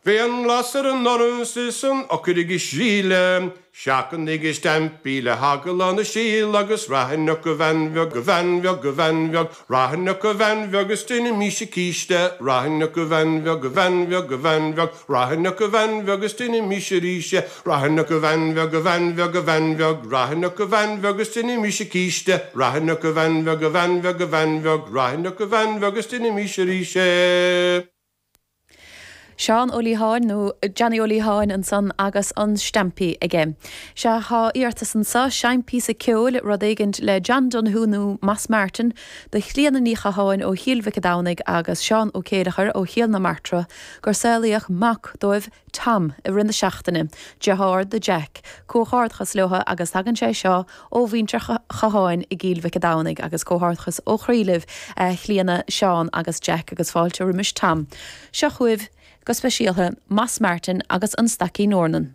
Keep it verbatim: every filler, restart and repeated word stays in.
Bhí an blas ar an doras is an eochair ag sileadh, Seachnaigí stampaí le heagla na síl agus rachainn a bhean bheag a bhean bheag a bhean bheag, Rachainn a bhean bheag is déanfaimis císte, Rachainn a bhean bheag a bhean bheag a bhean bheag, Rachainn a bhean bheag is déanfaimis arís, Rachainn a bhean bheag a bhean bheag a bhean bheag, Rachainn a bhean bheag is déanfaimis císte, Rachainn a bhean bheag a bhean bheag a bhean bheag, Rachainn a bhean bheag is déanfaimis arís. Seán Ó Liatháin nó Johnny Ó Liatháin ansan agus an stampí aige. Sea tá iarratas anseo seinn píosa ceoil rud éigin le John Donoghue nó Moss Martin do Chlíona Ní Chatháin ó Chill Mhic Domhnaigh agus Seán Ó Céileachair ó Chill na Martra gur saolaíodh mac dóibh Tom i rith na seachtaine, deartháir do Jack, comhghairdeachas leo agus tagann sé seo ó mhuintir Chatháin i gCill Mhic Domhnaigh agus comhghairdeachas ó chroí libh Chlíona Seán agus Jack agus fáilte roimis Tom. Seo chugaibh go speisialta Moss Martin agus an Staicín Eornan.